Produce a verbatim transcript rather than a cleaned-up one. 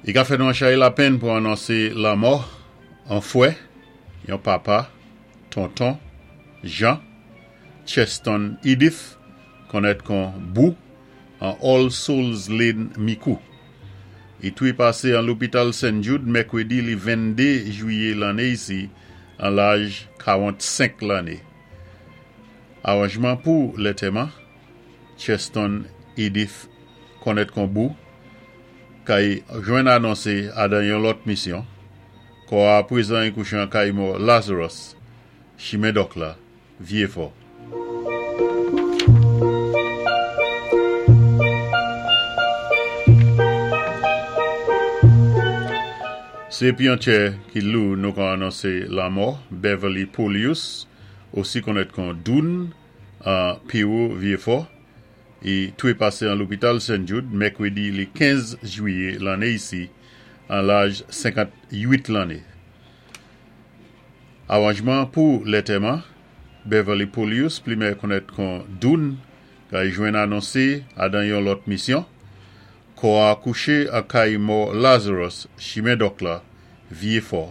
I ka fè nou an chay lapenn pou anonsé lanmò an fwè, yon papa, tonton, Jean, Cheston Edith, konnèt kon Bou, an All Souls Lane, Micoud. I toui pasé an lopital Saint Jude mèkwédi li venndé jwiyé lanné isi, an laj kawannsenk lanné. Awanjman pou lantèman, Cheston Edith konnèt kon Bou, kay jwenn anonsé adan yon lòt misyon, kò a pwézan i kouché an kay mò Lazarus, chimen Dòk la, Vyé-Fò. Sé pi an tchè ki lou nou ka anonsé lanmò Beverly Polius, osi konnèt kon Doun, an Piwo Vyé-Fò, i toui pasé an lopital Saint Jude mèkwédi li kenz jwiyé lanné isi, an laj senkant-uit lanné. Awanjman pou lantèman, Beverly Polius, pli meyè konnèt kon Doun, kay jwenn anonsé adan yon lòt misyon, kò a kouché an kay mò Lazarus, chimen Dòk la, Vyé-Fò.